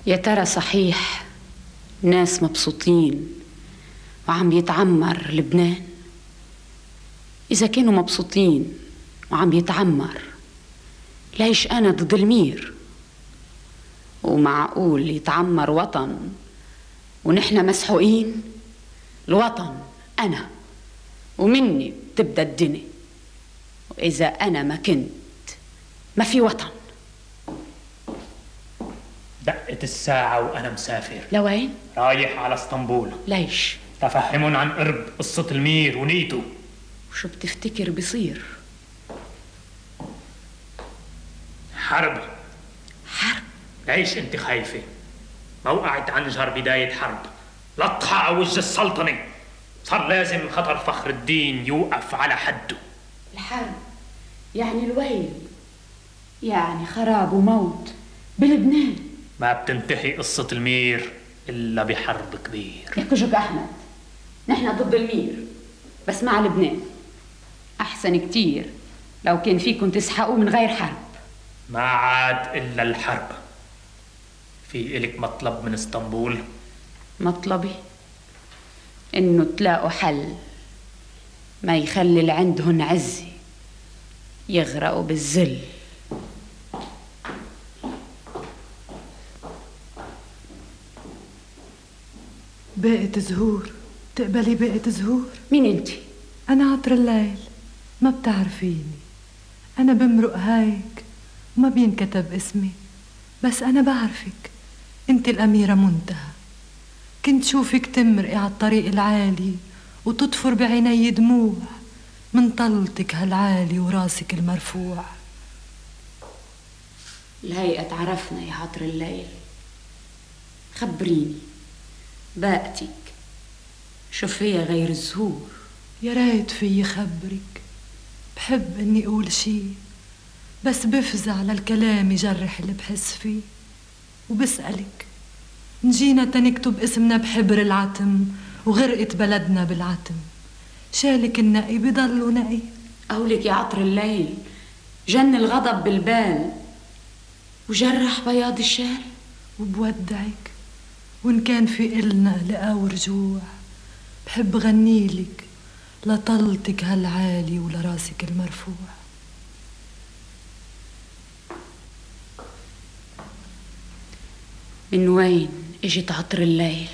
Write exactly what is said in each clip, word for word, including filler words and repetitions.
يا ترى صحيح ناس مبسوطين وعم يتعمر لبنان؟ إذا كانوا مبسوطين وعم يتعمر، ليش أنا ضد المير؟ ومعقول يتعمر وطن ونحن مسحوقين؟ الوطن أنا، ومني تبدأ الدنيا، وإذا أنا ما كنت ما في وطن. دقت الساعة وأنا مسافر. لوين؟ رايح على اسطنبول. ليش؟ تفهمون عن قرب قصة المير ونيته. وشو بتفتكر بصير؟ حرب. حرب؟ ليش انت خايفة؟ موقعة عنجر بداية حرب، لطخة على وجه السلطنة، صار لازم خطر فخر الدين يوقف على حده. الحرب يعني الويل، يعني خراب وموت بلبنان. ما بتنتهي قصة المير إلا بحرب كبير. يا كجك أحمد، نحن ضد المير بس مع لبنان. أحسن كتير لو كان فيكم تسحقوا من غير حرب. ما عاد إلا الحرب. في إلك مطلب من اسطنبول؟ مطلبي إنه تلاقوا حل ما يخلي اللي عندهن عزة يغرقوا بالذل. باقة زهور، تقبلي باقة زهور؟ مين انت؟ أنا عطر الليل، ما بتعرفيني. أنا بمرق هيك وما بينكتب اسمي، بس أنا بعرفك، انت الأميرة منتهى. كنت شوفك تمرقي على الطريق العالي وتطفر بعيني دموع من طلتك هالعالي وراسك المرفوع. الهيئة تعرفنا يا عطر الليل، خبريني باقتك شو فيها غير الزهور؟ يا ريت في خبرك، بحب اني اقول شي بس بفزع للكلام يجرح اللي بحس فيه. وبسألك نجينا تنكتب اسمنا بحبر العتم وغرقت بلدنا بالعتم، شالك النقي بضلوا نقي. قولك يا عطر الليل جن الغضب بالبال وجرح بياض الشال. وبودعك وإن كان في إلنا لقا ورجوع، بحب غنيلك لطلتك هالعالي ولراسك المرفوع. من وين اجت عطر الليل؟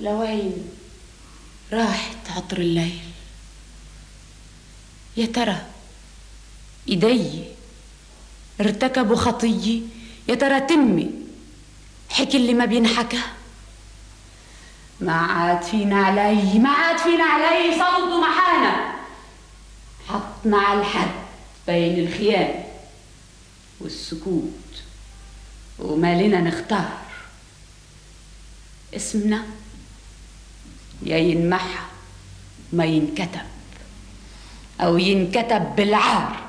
لوين راحت عطر الليل؟ يا ترى ايدي ارتكبوا خطية؟ يا ترى تمي حكي اللي ما بينحكى؟ ما عاد فينا علي، ما عاد فينا علي صوت ومحانة. حطنا على الحد بين الخيانة والسكوت وما لنا نختار. اسمنا يا ينمحى ما ينكتب، أو ينكتب بالعار.